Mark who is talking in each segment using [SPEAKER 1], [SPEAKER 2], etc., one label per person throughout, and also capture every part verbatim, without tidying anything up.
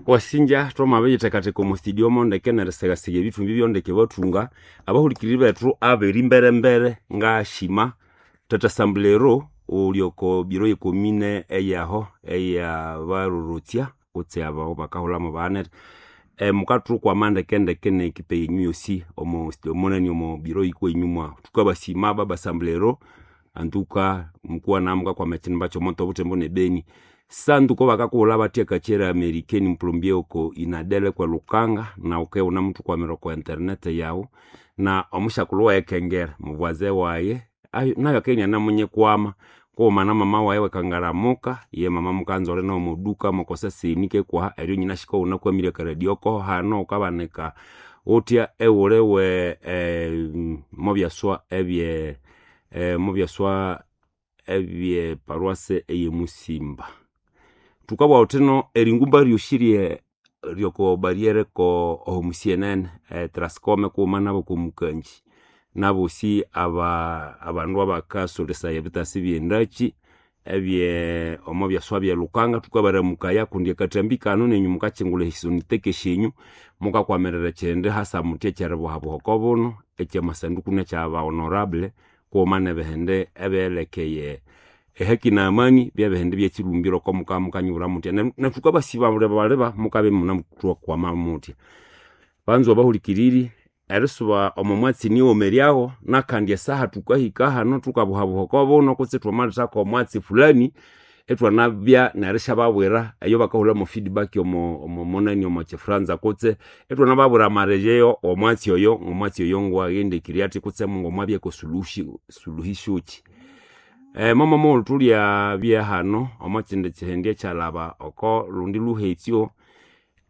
[SPEAKER 1] Wasinja twamabiyithekatheka omo studio mondeke nerisegasega ebithumbi byondeke bathunga abahulikiriri bethu aberi mberembere ngashima tata sambulero uli oko biro yekomine eyaho eyabarorotsya kutse abo bakahulhamu banete e, mukathukwama ndekendeke nekipe yenyu yosi omo omonani omo biro yikwenyu mwahu thukabasima baba sambulero antuka mukuwana mukakwama ekinimba kyomoto obuthembo nebeni sanduko bakakughulha bathya kakyera amerikeni mpulombye oko inadele kwe lukanga na uke unamuthukwamira oko internet yawu na omushakulhu waye kengera mubwaze waye ayo nayo akenia namunyikwama kughuma na mama waye wekangaramuka ye mama mukanzole nomuduka mukoseseni kekwaha eryo nyina shika unakwamire akaradio koho hano ukabanika uthya ewule we eh, mobyaswa ebye eh, mobyaswa ebye paruase eyemusimba thukabugha thuthino eringumba ryosi rye ryoko bariere ko omusienene e, Trascom kughuma nabo komukanji nabosi aba abandu abakasolesaya ebitasi byendaki ebye omo byaswa bye lukanga thukabaramukaya kundi akathambi kano nenyu mukakyingulha esisoniteke syenyu mukakwamirira ekyindi hasa muthya ekyeribuhabuha oko buno ekyamasanduku nekyaba honorable kughuma nebihindi ebyelekeye ehaki na amani byebihindi byekirumbiro oko muka mukanyibura muthya nethukabasiba baleba mukabya imunemuthukwama muthya banzwa abahulikiriri erisuba omo mwatsi niwomeryaho nakandi esaha thukahika hano thukabuhabuha oko buno kutse thwamalithako omwatsi fulani ithwanabya nerishababwira eyo bakahulhamu feedback omo omo monani omo kifranza kutse ithwanababwira amarejeo omwatsi oyo omwatsi oyo ngwaghendekirye athi kutse ngomwabyeko suluhi suluhisho ki e, momo mughulhu thulyabya hano omo kyindi kyihindi ekyalhaba oko lundi luhetsyo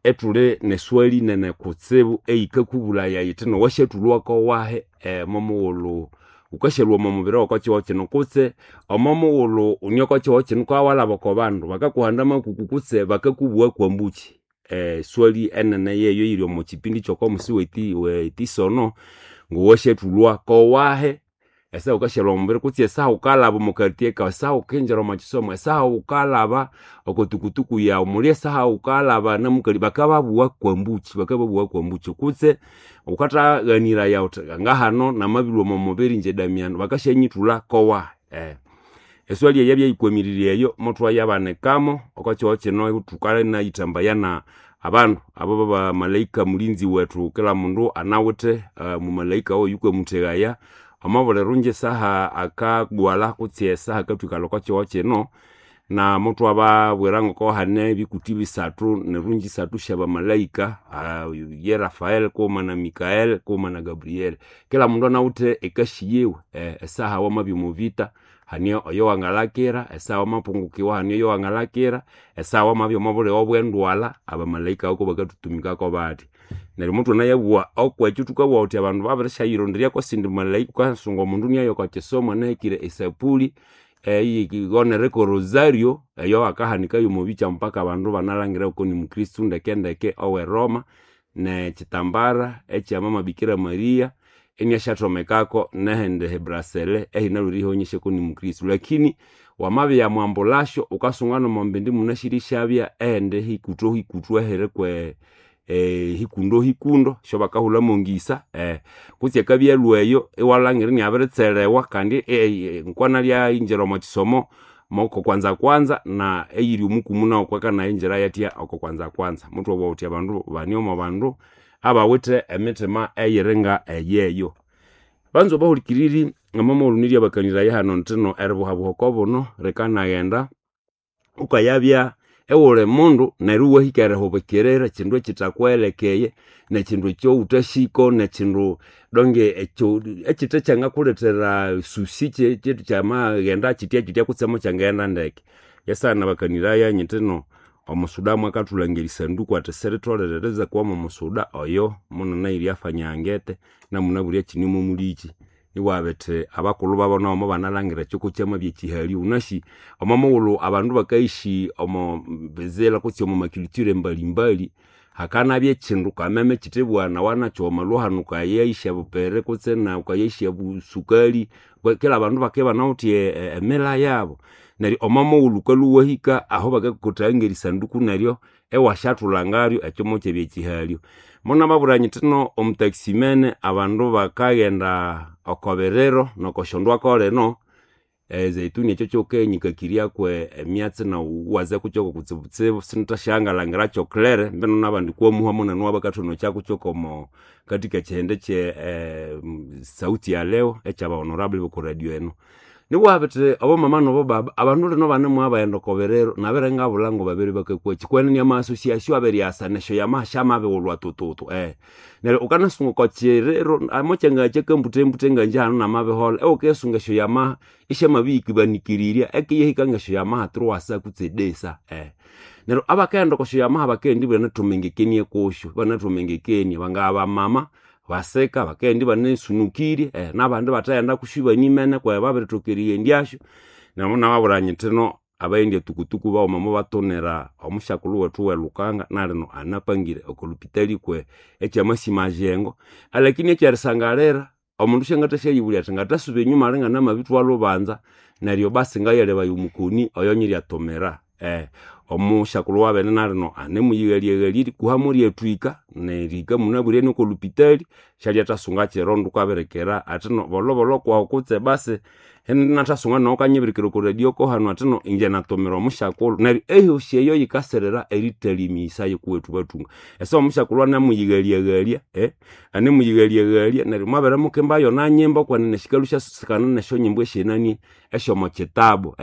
[SPEAKER 1] ethuli neswali nene kutsibu eyikakubulaya yithi nowasyathulhwako wahi e, momughulhu wukasyaluwa omo mubiri woko kyihugho kino kutse omo mughulhu wune oko kyihugho kino wukawalhaba oko bandu bakakuhanda makuku kutse bakakubugha kwambuki e, swali enene yeyo eyiri omo kyipindi kyoko musi wethi wetisono ngowasyathulhwa kowahi esaha wukasyalhwa omubiri kutse esaha wukalhaba omo quartier kawu esaha wukinjira omo kisomo esaha wukalhaba oko tukutuku yawu muli esaha wukalhaba namukali bakababugha kwambuki bakababugha kwambuki kutse wukataghaniraya wuthi ngahano namabilhwa omo mubiri ingye Damiano bakasyanyithulha kowahi eh. Eswali eyo yabyayikwamirirye eyo muthwayabanikamo oko kyihugho kino thukanayithambaya na abandu abo babamalaika mulinzi wethu kila mundu anawithe uh, mumalaika oyukamutheghaya omo buli rungi esaha akagwalha kutse esaha akathwikalha oko kyihugho kino na muthwababwira ngoko hane ebikuthi bisathu nerungi isathu syabamalaika uh, ye Rafael kughuma na Mikael kughuma na Gabriel kila mundu anawithe ekasi yiwe eh, esaha wamabya omo vita hane oyo wangalakira esaha wamapungukiwa hane oyo wangalakira esaha wamabya omo buligho obwendwalha abamalaika oko bakathutumikako bathi neryo muthwanayabugha okwekyo thukabugha thuthi abandu babirishyayironderya sindi malaika wukasunga omundu niayo oko kisomo anahekire esapuli eyigonereko rosario eyo akahanikayo omo bikya mpaka abandu banalhangira ngoko ni mukristu ndekendeke owe Roma nekyitambara ekyamama Bikira Maria iniasyathomekako nehindi hebrasele ehinalhwire ihaonyesya ni mukristu lakini wamabya mwambulasyo wukasunga nomo mbindi munasirisyabya ehindi hikuthu hikuthu ehiri kwe eh, hikundo hikundo syobakahulhamu ngisa eh, kutse akabya alhwa eyo iwalhangira iniabiritselewa kandi eh, ngokwanalya omo kisomo moko kwanza kwanza na eyiri omukumu nawu kwakanayinjira yathya oko kwanza kwanza muthwabugha thuthi abandu bane omo bandu abawithe emitima eyiringa eyeyo banzwa bahulikiriri omo mughulhu niryabakaniraya hano nthino eribuhabuha oko buno rikanaghenda wukayabya ewuli mundu neryo iwahika erihubikirira ekindu ekithakuwelekeye nekindu ekyowuthasiko nekindu donge ekyo ekithe kyangakulethera susi kyamaghenda kyitya kyitya kutse mukyangaghenda ndeke yasana bakaniraya nyithino omusuda mwakathulhangira erisanduku athi siritholere erizakuwamo omusuda oyo munanayire afanyangete namunabwire kinimulikyi iwabithi abakulhu babo nabo mobanalhangira ekyoko kyamabya ekihali wunasi omo mughulhu abandu bakayishi omo bizira kutse omo maculture mbalimbali hakanabya ekindu kameme ekithibwana wanakyo wamalhwa hanu wukayayisya bupere kutse na wukayayisya busukali kila abandu bakibya banawithe emila yabo Neryo omo mughulhu wukalhwa iwahika aho bakakotaya ngerisanduku neryo ewasyathulhangaryo ekyo mokyabya ekihalyo. Monamabwira nyithi no omutaximene abandu bakaghenda oko biriro nokosyondwako lino, ezeituni ekyo kyikayinyikakiryako emyatsi nawu iwaza kukyoko kutsibutsibu sindisyathasyanga clear mbino nabandi kwamuha munene owabakathonokya kwomo katika ekihindi kye sauti ya leo ekyaba honorable boko radio eno. Nibugha bithi obomama nobobaba abandu lino banemwabaghenda oko biriro nabere ngabulha ngobabere bakakwaki kwenene ama association abiryasa nesyo yamaha syamabighulhwa tututu. Neryo wukanasunga oko kiriro mokyangaya kyakambutembute ngangye hanu namabiholha iwukisunga esyo yamaha isyamabiyikibanikirirya ekiyahika ngesyo yamaha truwasa kutse desa. Neryo abakaghenda okosyo yamaha bakaghenda ibanathombengekenie kusyo, ibanathombengekenie bangabya bamama basika bakaghenda ibanasunukirye nabandi ibathaghenda kusyo ibanimene kweyo babirithoka erighendyasyo. Neryo munababwira nyithi no abaghendya tukutuku baghuma mobatonera omusyakulhu wethu welhukanga nalino anapangire oko lupitali kwe ekyamasya majengo. Alakini ekyerisangalira omundu syangathasyayibulya athi ngathasuba enyuma alinganamabithwa lhubanza neryo basi ngayalebaya omukoni oyonyiryatomera. Omusyakulhu wabene nalino anemuyighalyaghalya erikuhamo ryathwika nerihika munabwire noko lupitali syalyathasunga kiro kwabirikira athino bolhobolho kwahu kutse basi inathasunga nawu wukanyibirikira oko radio kohanu athino ingye natomera omusyakulhu. Neryo eyosi eyo yikasirira erithalya emiyisa yikuwethu bathunga. Esaha omusyakulhu anemuyighalyaghalya anemuyighalyaghalya neryo mwabere mukimbayo nanyimba kwenene sikalhwa isyasikana nesyonyimbo esyenani esyomo kitabu.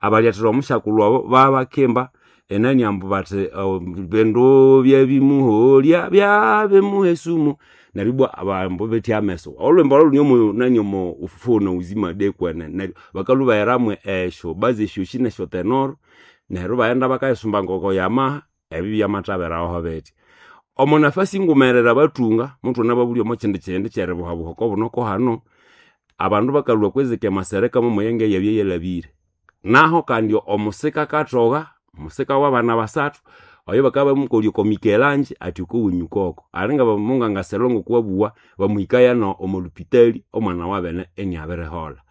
[SPEAKER 1] Abalyathira omusyakulhu abo babakimba enani ambu bathi bindu byabimuholya byabimuha esumu neryo ibwa ambu bethi ameso. Olhwimbo olho lune nani omo ufufuo na uzima de kwenene neryo bakalhwa ibaheramwe esyo bazi esyosi nesyo tenoro neryo ibaghenda bakayisumba ngoko yamaha ebyo byamathaberaho bithi. Omo nafasi ngumerere abathunga muthunababulya omo kyindi kihindi kyeribuhabuha oko buno kohano, abandu bakalhwa kwizika emasereka momuyenge eyabya yalhabire. Naho kandi omusika akathoha, omusika wabana basathu oyo bakabya babimukolya oko Mikelanji athi okowenyu koko. Alinga bamungangaselo ngokuwabugha bamuhikaya omo lupitali omwana wabene iniabiriholha.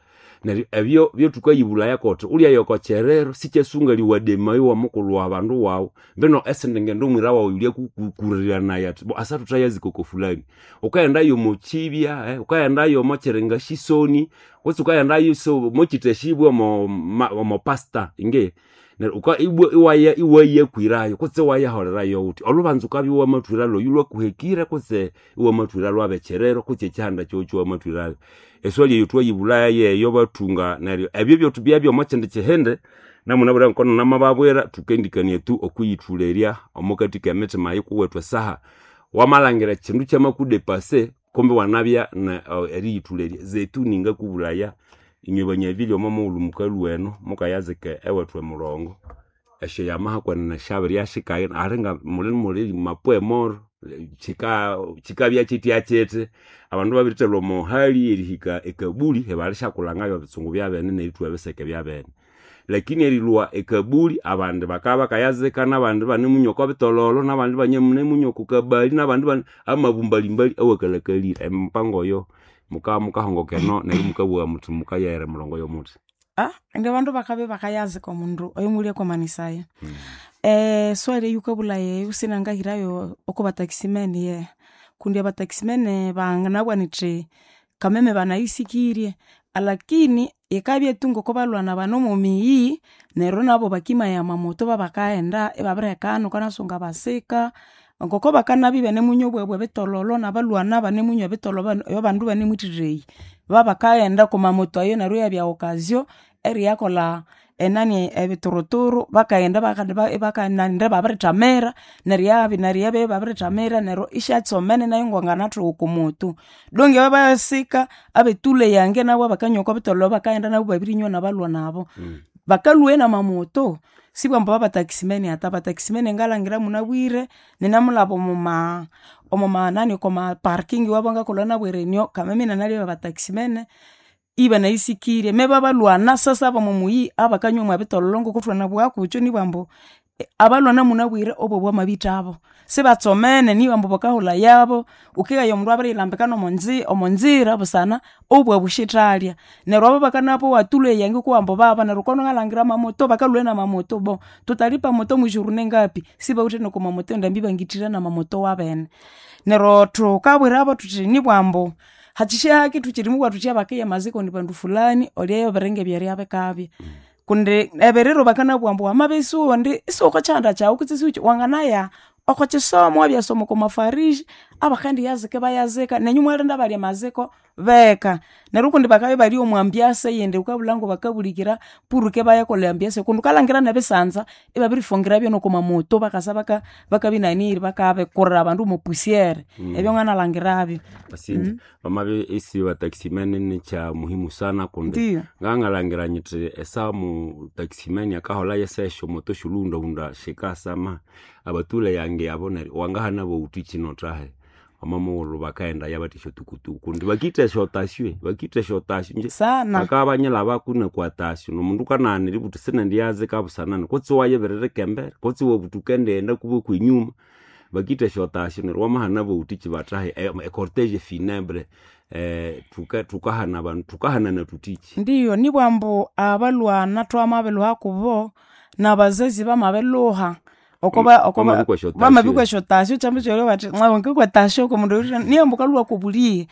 [SPEAKER 1] Neryo ebyo byothukayibulaya kuthi wulyaya oko kyiriro sikyasungalya iwademayo iwamukulhu wabandu wawu mbino esindi ngendo omwira wawu yulyakukuliranaya athi asa thuthayazika oko fulani. Wukaghendayo omo kibya, wukaghendayo omo kyiringa sisoni kutse wukaghendayo mokyithashibwa omo pastor ingi neryo ibwa iwayakwirayo kutse iwayaholerayo wuthi. Olhubanza wukabya iwamathwira lwoyu lwakuhekire kutse iwamathwira lwabekyiriro kutse ekyihanda kyawu kyawamathwirayo. Eswali eyo thwayibulaya yeyo bathunga neryo ebyo byothi omo kyindi kihindi namunabwire ngoko namababwira thukendikania tu okwiyithulerya omokathi kemitima yikuwethu esaha wamalhangira ekyindu kyamakudepase kumbi iwanabya eriyithulerya. Zetuni ngakubulaya inywe banyabirye omo mughulhu mukalhwa eno mukayazika ewethu emurongo esyo yamaha kwenene syabiryasyikaghina alinga muli muli mapwe moro kyika kyikabya kyithya abandu babirithalhwa omo hali erihika ekabuli ibalisyakulhangayo ebitsungu byabene nerithwa ebiseke byabene. Lakini erilhwa ekabuli abandi bakabya bakayazika nabandi ibanemunywa oko bitololo nabandi ibanemunywa oko kabali nabandi amabumbalimbali awakalhakalire. Emipango eyo mukabya mukahongoka eno neryo mukabugha muthi mukayaghera emirongo yomuthi.
[SPEAKER 2] Ah, indi abandu bakabya bakayazika omundu oyomulyakwamanisaya. Eswali eyukabulaya eyo sinangahirayo oko bataximene yehe kundi abataximene banganabugha nithi kameme banayisikirye alakini yikabya tu ngokubalwana bane omomiyi neryo nabo bakimaya amamoto babakaghenda ibabirihekana wukanasunga abasika ngoko bakanabya ibanemunywa obwabu ebitololo nabalwana banemunywa ebitololo ebabandu ibanemwithireya. Babakaghenda okwamamoto ayo neryo iyabya occasion eriyakolha enani ebituruturu bakaghenda ibabirithamira neryo neryo iyabya ibabirithamira neryo isyatsomene nayu ngwanganathugha okwamoto. Donge babasika abetule yange nabo abakanywa okobitololo bakaghenda nabo ibabirinywa nabalwana abo. Bakalhwayo namamoto sibwambu abataximene ata, abataximene ngalhangira munabwire ninamulhaba omoma omomanani okwa parking iwabo ngakolha nabwire inyo kameme inanalebya abataximene ibanayisikirye me babalwana sasa abomomuyi abakanywa mwebitololo ngokuthwanabugha kukyo nibwambu Abalwana munabwire obo bwamabithabo sibatsomene niba ambu bakahulha yabo wukigaya omundu abiriyilambika nomonzi omonzira busana obwabushithalya neryo abo bakanabowa tulwe yange kuwambu baba neryo wukabya iwangalhangira amamoto bakalhwa namamoto bo tutalipa moto mwijourne ngapi sibawithe nokomamoto endambi bangithira namamoto wabene neryo thukabwirabo thuthi nibwambu hakyishahaki thukyiri thuthi abakiya amaziko indi bandu fulani olyeyo ebiringa ebyerya bikabya kundi ebiriro bakanabugha ambu wamabya isiwundi isiwukokyihanda kyawu kutse isiwuki wanganaya okwakisomo wabyasoma okomafariji abakendiyazika ibayazika nenyu imwalinda abalya amaziko beka. Neryo ukundi bakabya ibali omwa ambiance eyindi wukabulha ngabakabulikira purike ibayakolha ambiance kundi wukalhangira nebisanza ibabirifungiravyo nokomamoto bakasa baka bakabinaniri bakabikurira abandu mwapusiere ebyo nganalhangiravyo.
[SPEAKER 1] Wasinja bamabya isi bataximan nikya muhimu sana kundi
[SPEAKER 2] Ndiyo.
[SPEAKER 1] ngangalhangira nyithi esaha mu taximan akaholha yesesyo moto syolhughundahunda sikasama abathule yange abo neryo wangahana bawuthi kino thahe wamamughulhu bakaghenda bathi esyotukutuku kundi bakitha esyotasyo bakitha esyotasyo nje
[SPEAKER 2] Sana.
[SPEAKER 1] bakabya banyilhabaku nokwatasyo nomundu kanaghana eributhi sinendiyazika busanani kutse iwayibiririka embere kutse iwabuthi wukendighenda kuba kwenyuma bakitha esyotasyo neryo wamahana bawuthi kibathahe ecortege funebre thuka thukahana abandu thukahanana thuthiki.
[SPEAKER 2] Ndiyo nibwambu abalwana thwamabilhuha kubo nabazazi bamabilhuha okoba okoba
[SPEAKER 1] Bamabikwa esyotasyo.
[SPEAKER 2] bamabikwa esyotasyo kyambi kyolyo bathi ngakwa etasyo okomundu oyuthya niyambu wukalhwa kobuliye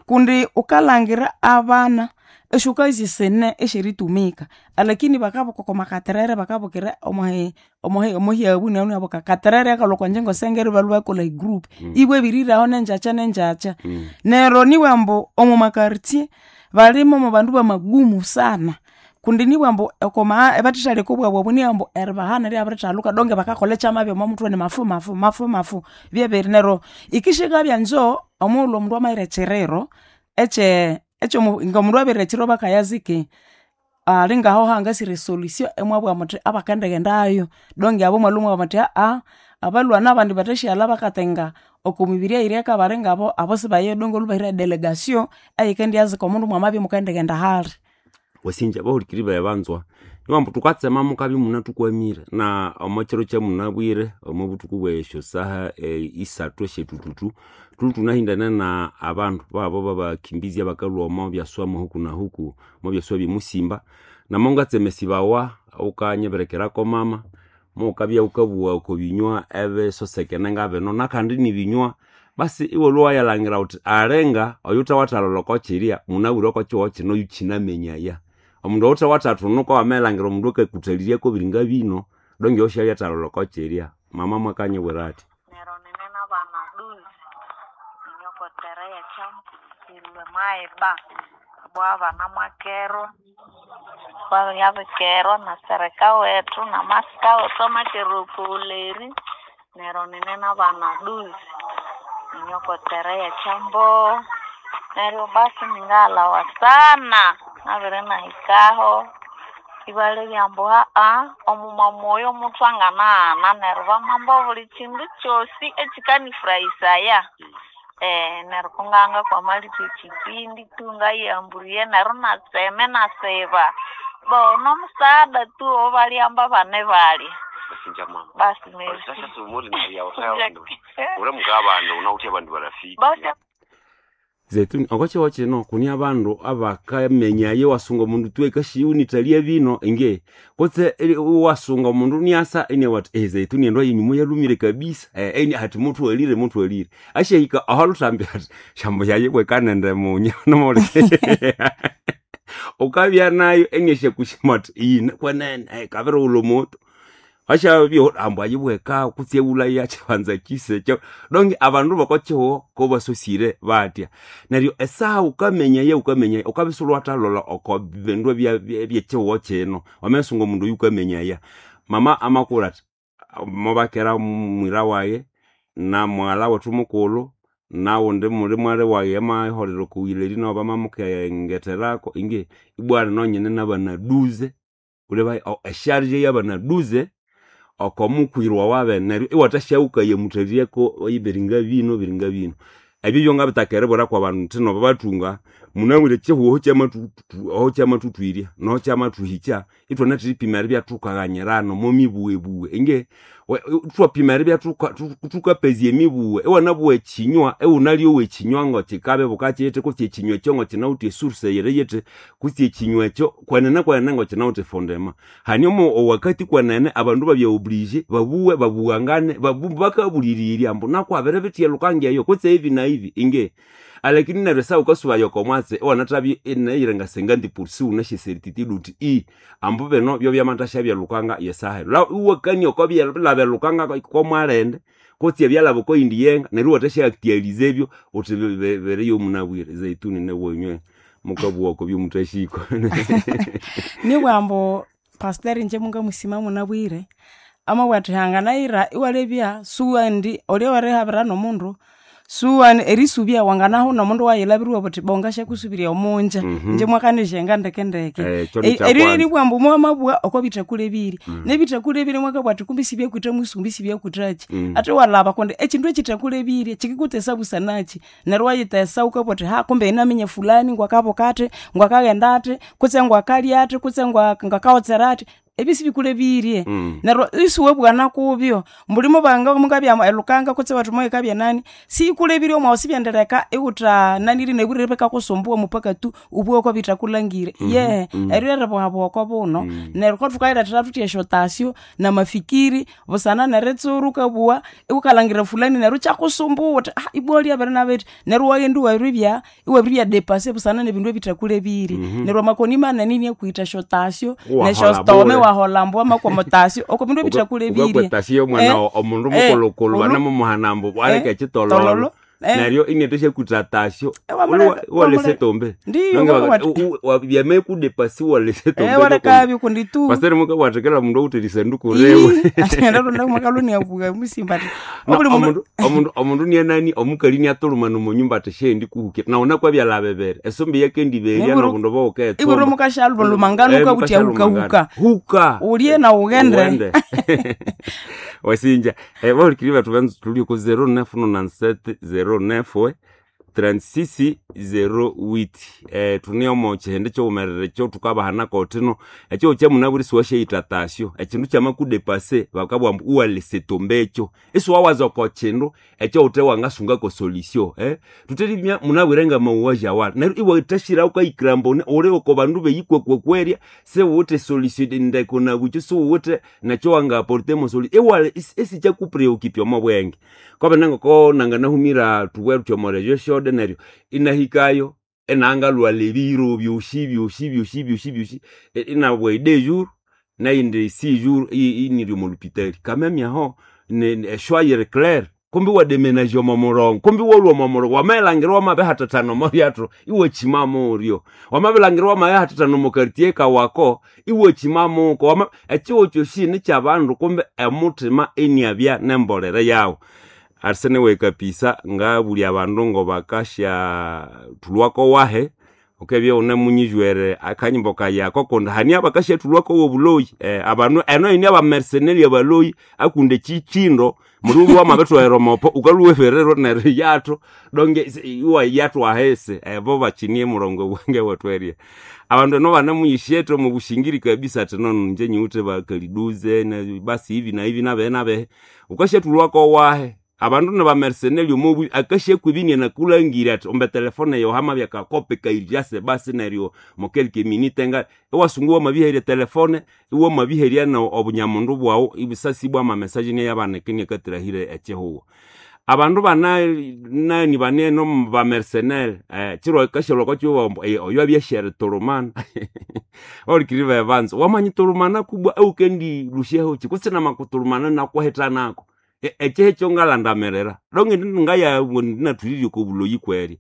[SPEAKER 2] kundi wukalhangira abana esyokazi sine esyeritumika alakini bakabuka okwamakaterere bakabukira omuhi omuhi omuhyabu neryo katerere akalhwa okwanjingo sengere ibalhwa bakolha egroup ibwa ebiriraho nengyakya nengyakya neryo nibwambu omwamakartier balimo mwabandu bamagumu sana kundi nibwambu okoma ebathithaleka obwabu obu niyambu eribahana ryabirithaluka donge bakakolha ekyamabya omwamuthwe nimafu mafu mafu mafu byebiri neryo ikishikabya njo omughulhu omundu amayira ekyiriro ekye ekyomu ngomundu abirira ekyiro bakayaziki alingaho hangasira esolution imwabugha muthi abakendighendayo donge abo imwalhwa imwabugha muthi aa abalhwana abandi bathasyaghalla bakatenga okomibiri eyiri eka ngabo abo sibaye donge olhubahira edelegation eyikendyazika omundu mwamabya imukendighenda hali.
[SPEAKER 1] Wasinja abahulikiriri bayi banzwa nibambu thukatsema mukabya imunathukwamire na omwakyiro kyamunabwire omwabuthuku bwesyosaha isathu esyethuthuthu thulhwe thunahindana na abandu babo babakimbizi abakalhwa omo byaswa mwahuku na huku omo byaswa byemusimba namongatsemesibawa wukanyibirekerako mama muwukabya wukabugha oko binywa ebisosekene ngabino nakandi nibinywa basi iwalhwa wayalhangira wuthi alinga oyuthawathalholha okokyirya munabwire okokyihugho kino yukyinamenyaya omundu oyuthawathathunuka wamalhangira omundu akakuthalirya biringa bino donge oyo syalyathayalholha okokyirya mama mwakanyibwira athi.
[SPEAKER 3] Neryo nine nabana duzi inyokotere ekyambu maiba bwabana mwakerwa babyabikerwa na sereka wethu namasika wethu amakere okuwuleri neryo nine nabana duzi inyokotere ekyambu neryo basi ningaghalhawa sana nabiri nahikaho ibalebya ambu haa omumama oyo muthu anganaghana neryo bamamba obuli kindu kyosi ekikanifurahisaya eh neryo kunganga kwamalitha ekyipindi tu ngayihamburiye neryo natsema inasiba bo nomusaada tu obalyamba abana ibalya
[SPEAKER 1] Wasinja mama
[SPEAKER 3] basi merci
[SPEAKER 1] ule mukabandi unawuthe abandu barafiki
[SPEAKER 3] basi
[SPEAKER 1] Zaituni okokyihugho kino kuni abandu abakamenyayo iwasunga omundu tu ekashighunithalya bino inge kutse iwasunga omundu iniasa inabugha athi eh zaituni endo yenyuma yalhumire kabisa eh eni athi muthwalire muthwalire asyahika ahalhuthambya athi syambu yayibweka nende munya wukabya nayo iniasyakushima athi iyine kwenene eh kabirighulha omoto asyabya ambu ayibweka kutse iwulhayo kyibanza kyise donge abandu bokokyihugho kobasosire batya neryo esaha wukamenyaya wukamenyaya wukabya isiwulhwathalholha oko bindu ebyekyihugho kino wamasunga omundu oyu wukamenyaya mama amakura athi mubakera mwira wayi namughalha wethu mukulhu nawundi muli mwali wayi amayiholera okuyila nawu bamamukengetherako inge ibwa nonyene nabanaduze wuleba esharge yabanaduze oko mukwirwa wabene neryo iwathasyahukaya muthalireko biringa bino biringa bino ebyo byongabitaka eribwira kwabandu nthino babathunga Munabwire chihuho kyamatu oho kyamathuthwirya noho kyamathuhikya ithwanathiripima eribya thukaghanyirana omo mibughebughe inge we- thwapima eribya thuka- thu- thukapezya emibughe. Iwanabuwa ekinywa iwunalyowa ekinywa ngokikabibuka kithi kutse ekinywa ekyo ngokinawithe esource yiri yithi kutse ekinywa ekyo kwenene kwenene ngokinawithe efondema. Hanyuma owakati kwenene abandu babya oblige babuwe babughangane babu bakabulirirya ambu nakwabiribitya lhukangi eyo kutse hivi na hivi inge. Alakini neryo esaha wukasubaya oko mwatsi iwanathabya inayira cinquante pour cent wunasya certitude wuthi i ambu bino byobyamathasya lhukanga yesaha eno. La iwakania oko byalaba elhukanga komwalindi kutse ebyalaba okoyindi yenga neryo iwathasya actualize ebyo wuthi biriyo munabwire. Zaituni nawenywe mukabugha oko byomuthahikwa.
[SPEAKER 2] Nibugha ambu pastor ingye mungamusima munabwire, amabugha athi hanganayira iwalebya suwendi olya werihabira nomundu, suwani erisubya wanganahu nomundu wayilhabira iwabugha wuthi bo ngasyakusubirya omunja. Ingye mwakanizyenga ndekendeke.
[SPEAKER 1] Ekyo nikyakwanza.
[SPEAKER 2] Eryo ryeribugha ambu mwamabugha okwabithakulebire. Nebithakulebire mwakabugha athi kumbi sibyakwitha musumbi sibyakwithaki. Ate iwalhaba kundi ekyindu ekyithakulebire kyikikuthesa busanakyi. Neryo iwayithesa wukabugha wuthi ha kumbe inaminya fulani ngwakabuka athi, ngwakaghenda athi, kutse ngwakalya athi, kutse ngwakawotsera athi, ebyo sibikulebirye. Neryo isiwabugha nakubyo, mbuli mubanga mukabya elhukanga kutse iwathi moyikabya nani, siyikulebirye omwawu sibyendirileka iwutha nanirye nebwirire bikakusumbuwa mupaka tu ibughe okwabithakulhangire. Yehe, eryo ryeribuhabuha okobuno, neryo kothukayilethera thuthi esyotasyo namafikiri busana neritsura wukabugha iwukalhangira fulani neryo ikyakusumbuwa wuthi ibwa lyabiri nabithi, neryo iwaghenda iwabiribya iwabiribya depase busana nebindu ebithakulebirye. Neryo amakoni manene iniakwitha esyotasyo
[SPEAKER 1] Iwaholha
[SPEAKER 2] nesyostome
[SPEAKER 1] bule.
[SPEAKER 2] iwaholha ambu wamakwa omutasyo oko bindu ebithakulebirye.
[SPEAKER 1] Ukakwetasiya omwana omundu mukulhukulhu banamuhana ambu aleke ekitololo
[SPEAKER 2] Tololo.
[SPEAKER 1] neryo inathasyakutha tasyo
[SPEAKER 2] Iwamuleka-
[SPEAKER 1] iwalesa
[SPEAKER 2] iwamuleka.
[SPEAKER 1] etombe.
[SPEAKER 2] Ndiyo, wamawatha.
[SPEAKER 1] Byamaikudepasi iwalesa etombe.
[SPEAKER 2] Walekabyo kundi tu
[SPEAKER 1] Pastor mukabwathekera omundu owuthe erisanduku riwe.
[SPEAKER 2] Ati niabuga musimba ati
[SPEAKER 1] Na,
[SPEAKER 2] obuli mundu
[SPEAKER 1] omundu omundu omundu nianani omukali niatulumana omonyumba athi syendi kuhukira nawu nakwabyalha bibiri esombe yakendiberya
[SPEAKER 2] Niburu-
[SPEAKER 1] nobundu
[SPEAKER 2] ibwira
[SPEAKER 1] bowuketsumba
[SPEAKER 2] mukashalumangana ukabuthi ahukahuka
[SPEAKER 1] huka
[SPEAKER 2] ulye na ughende.
[SPEAKER 1] Ughende. Wasinja eh, bahulikiri bethu banza tuli ku zero nine nine zero nine thirty-six zero eight. Eh, tune omo kihindi kyighumerere ekyo thukabahanako thino ekyo kyamunabwire isiwasyayitha tasyo ekindu kyamakudepase bakabugha ambu iwalesa etombe ekyo isiwawaza oko kindu ekyawuthe wangasungako solution eh? Thutherimya munabwire ngamawuwaji awali neryo iwathashira wukayikira mbone uli oko bandu beyikwekwekweriya siwuwithe solution ndeko nabukyo siwuwithe nekyo wangaporte mo solution iwali isikyakupreoccupy omo bwenge kwabana ngoko nanganahumira thubwere thuthi omo regio shode neryo inahikayo inangalhwalha ebiro byosi byosi byosi byosi byosi inabwa deux jours nayindi six jours iniri omo lupitali kameme aho eshwa yiri claire kumbi wademenaja omo murongo kumbi walhwa omo murongo wamaghilhangira wamabihathathana omo ryathu iwakyimamu uryo wamabilhangira wamabihathathana omo quartier kawako iwakyimamuko wama ekihugho kyosi nikyabandu kumbi emuthima iniabya nembolere yawu. Arisene kapisa ngabulya abandu ngobakasya thulhwako wahe wukabya iwunemunyijwere akanyimbo kayi ako kundi hani abakasyathulhwako wobuloyi eh, abandu eno yini abamercenary abaloyi akundi ekyikindo muliwe wamabithoghera omopo wukalhwa iwafererwa neryo iyathu donge iwayathu ahisi ebo bakinie murongo bwange wethu abandu eno banemuyishyethe omo bushingiri kabisa athi nono inje nyiwithe bakaliduze basi hivi na hivi nabehe nabehe wukasyathulhwako wahe abandu nibamercenary omobu akasyakwibya inakulhangire athi ombe telefone yawu hamabya kakopi kairjase basi neryo mokelke minute nga iwasunga iwamabiherya telefone iwamabiherya no obunyamundu bwawu ibisasi bwama message niyabanika inakathirahire ekihugho. Abandu bana nani banene bamercenaire eh, kiro kashalwa kwachiwa oyo abyashere turumana olikiri bebanza wamanyitulumana kubwa eukendi lusheho chikusina makuturumana nakuhetanako ekyehe ekyo ngalandamirira donge ngaya ndinathulirye oko buloyi kweri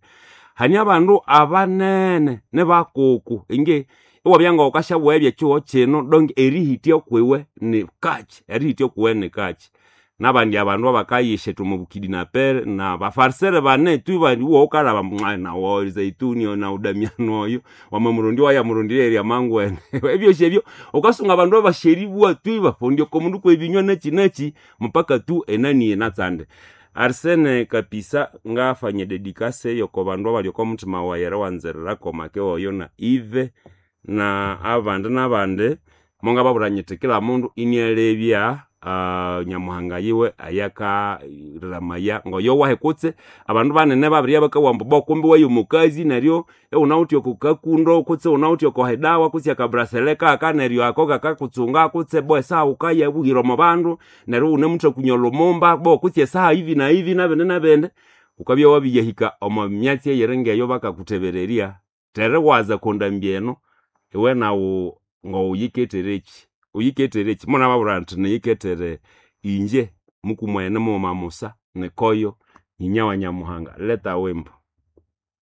[SPEAKER 1] hani abandu abanene nibakuku inge iwabya ngawukasyabuwa ebyekihugho kino donge erihitya kwiwe ni kachi erihitya kuwe ni kachi nabandi abandu abakayishetha omo bukidinapere nabafarisere bane tu iwo wukalhaba ambu nawo zaituni nawu damiano oyo wamamurundi wayamurundira erya mangwene ebyosi ebyo wukasunga abandu abasheribwa tu ibafundya oko mundu kwebinywa nakyi nakyi mupaka tu enani enatsande. Arsene kapisa ngafanya dedikase yoko bandu abali oko muthima wayi eriwanzirira komake oyo na Ive na abandi nabandi mongababwira nyithi kila mundu inialebya uh, nyamuhanga yiwe ayakariramaya ngoyo wahe kutse abandu banene babirya bakawa ambu bo kumbi wayo mukazi neryo iwunawithe oko kakundo kutse wunawithe oko hedawa kutse akabrasele kaka neryo ako kakakutsunga kutse bo esaha wukayabuhira omo bandu neryo wunemuthakunya olhumumba bo kutse esaha ivi na ivi nabindi nabindi wukabya wabiyahika omo myatsi eyiri ngeyo bakakuthebererya teriwaza kondambi eno iwe nawu ngowuyiketherekyi uyiketherekyi munababwira nthi niyikethere inje mukumwene mughuma musa nikoyo nyinya wa nyamuhanga leta wimbo.